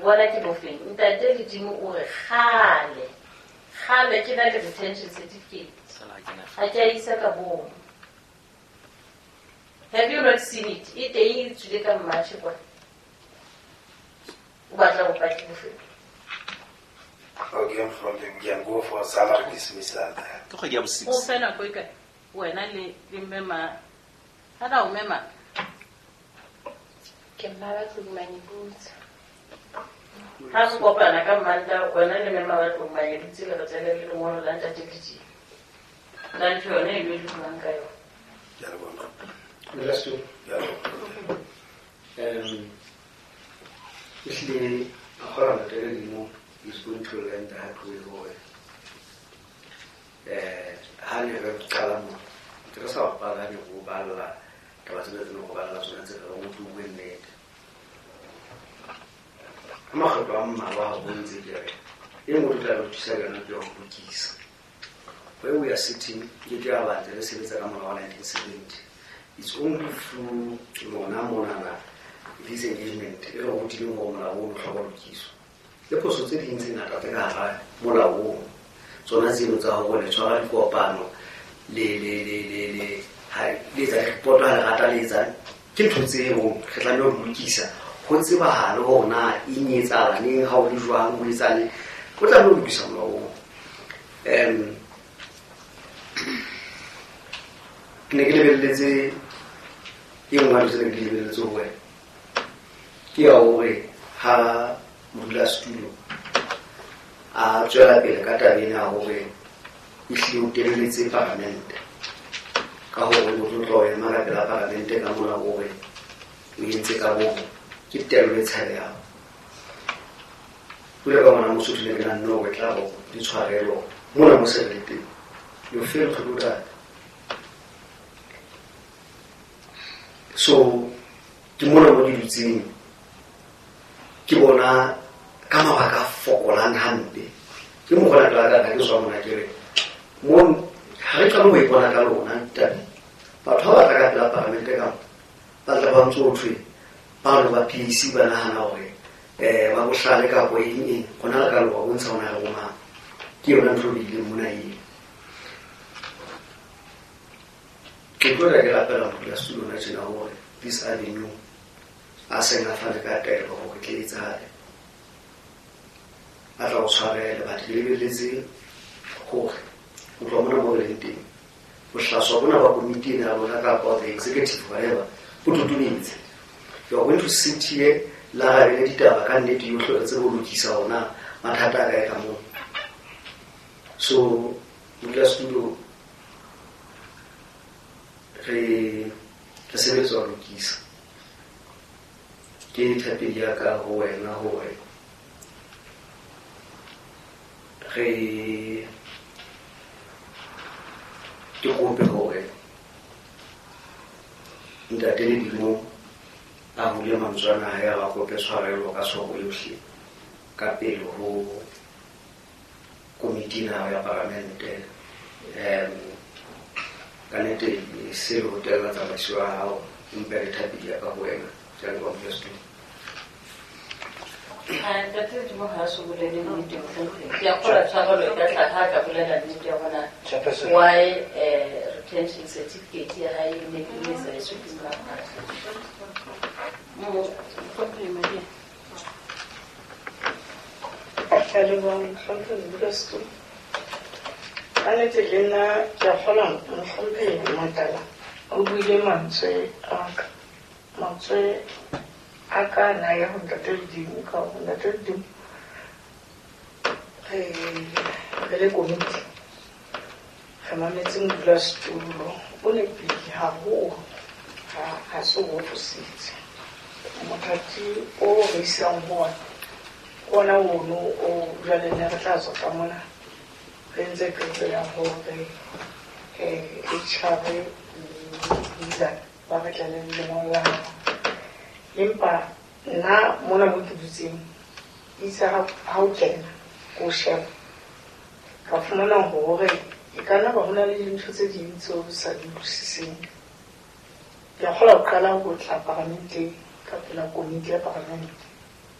bona ke bofeng? Ntate Ledimo o re kgale kgale ke na le retention certificate. Ha ke a isa ka bomo. Have you not seen it? E teng e tswile ka March kwa. O batla bopaki bofeng? Okay, from the, we can go for salary dismissal there. Ke kgwedi ya bo 6. O fe nako e kae? Wena le mme ma. Ha na o mme ma. Ke mma ba tlong Manyebutse. Ha re kopana ka Mmantaha, wena le mme ma ba tlong Manyebutse le re tlele le lengolo la ntate Ledimo. La ntho yone e le buang ka yona. Ke a leboha. Modulasetulo. Ke a leboha. Ehlile a kgona ntate Ledimo is going to learn the hard way hore ha ne re qala mo ntse re sa bapala ne go balla taba tsena tse ne go balla tsona tse re go bue nnete. Ka makgetlo a mmalwa ha go ntse ke re e nngwe re tla re thusa ka yona ke ya go lokisa. Where we are sitting, ke ke ya batla re sebetsa ka molao wa 1970. It's only through lona monana this engagement e re rutileng gore molao o hloka ho lokiswa. Le phoso tse ding tse ngata tse ka hara molao oo, tsona tseno tsa hore le tshwara dikopano, le ha le etsa report ha le rata le etsang, ke ntho tseo re tlameha ho di lokisa. Ho tsebahale hore na eng e etsahala neng, ha o le jwang, o etsang, o tlameha ho lokisa molao oo. Ke ne ke lebelletse e nngwe ya dilo tse ne ke di lebelletse ho wena ke ya hore ha modulasetulo a tswela pele ka taba ena ya hore ehlile o telletse palamente ka hore o tlo tla o ema ka pela palamente ka mona hore o entse ka bomo, ke tello e tshabehang. Jwale ka ngwana Mosotho ne ke nahanne hore tla bo di tshwarelo mona mo se re le teng. You fail to do that. So ke mona mo ke dutseng ke bona ka mabaka a fokolang hampe. Ke mokgwa la ka ka ke tswa mona ke re mo ha re qale ho ipona ka lona ntate. Batho ba batla ka pela palamente ka mo ba tla ba ntse ho thwe ba re ba PAC ba nahana hore ba bohlale kapa eng eng, rona re ka loka bontsha hona re bomang. Ke yona ntho e bileng mona eo. Ke tlo re ke rapela modulasetulo hona tjena hore this avenue a seng a fane ka taelo hore tle etsahale. A tla o tshwarele, but ke lebelletse hore ho tloha mona mo re leng teng, bohlaswa bona ba komiti ena ya lona kapa the executive whatever, bo totobetse. You are going to sit here la rabele ditaba ka nnete yohle re tsebe ho lokisa hona mathata a kae ka moo. So modulasetulo re sebetsa ho lokisa. Ke thapedi ya ka ho wena hore re ke kope hore ntate Ledimo a hule mantswe ana a hae, a kope tshwarelo ka tshwaro yohle ka pele ho komiti ena ya palamente. Ka nnete se le ho tella tsamaiso ya hao, empa le thapedi ya ka ho wena. Ke a leboha modulasetulo. Ntate Ledimo ha a so bolele nnete, mohlomphehhi. Ke a kgolwa tshwarelo e ka tla ha a ka bolela nnete ya hore na Chairperson. why retention certificate ya hae e ne e sa iswe ke molao. Mohlomphehhi Madia. Ke a leboha mohlomphehhi modulasetulo. Ka nnete le nna ke a kgolwa mohlomphehhi Motala o buile mantswe a ka. Mantswe a ka na ya ho ntate Ledimo, ka hore ntate Ledimo re le komiti re mametse modulasetulo o nepile haholo, ha se o fositse. Mothati o re isang ho ona ke ona ono o jwale ne re tla tswa ka mona re ntse qeto ya hore HR le leader ba re tlele le lengolo la hao. Empa nna mona mo ke dutseng itse ha o kena ko sheba ka fumana hore e ka nna ba hona le dintho tse ding tseo o sa di utlwisiseng. Ke a kgolwa ho qala ho tla paramenteng ka pela komiti ya paramente.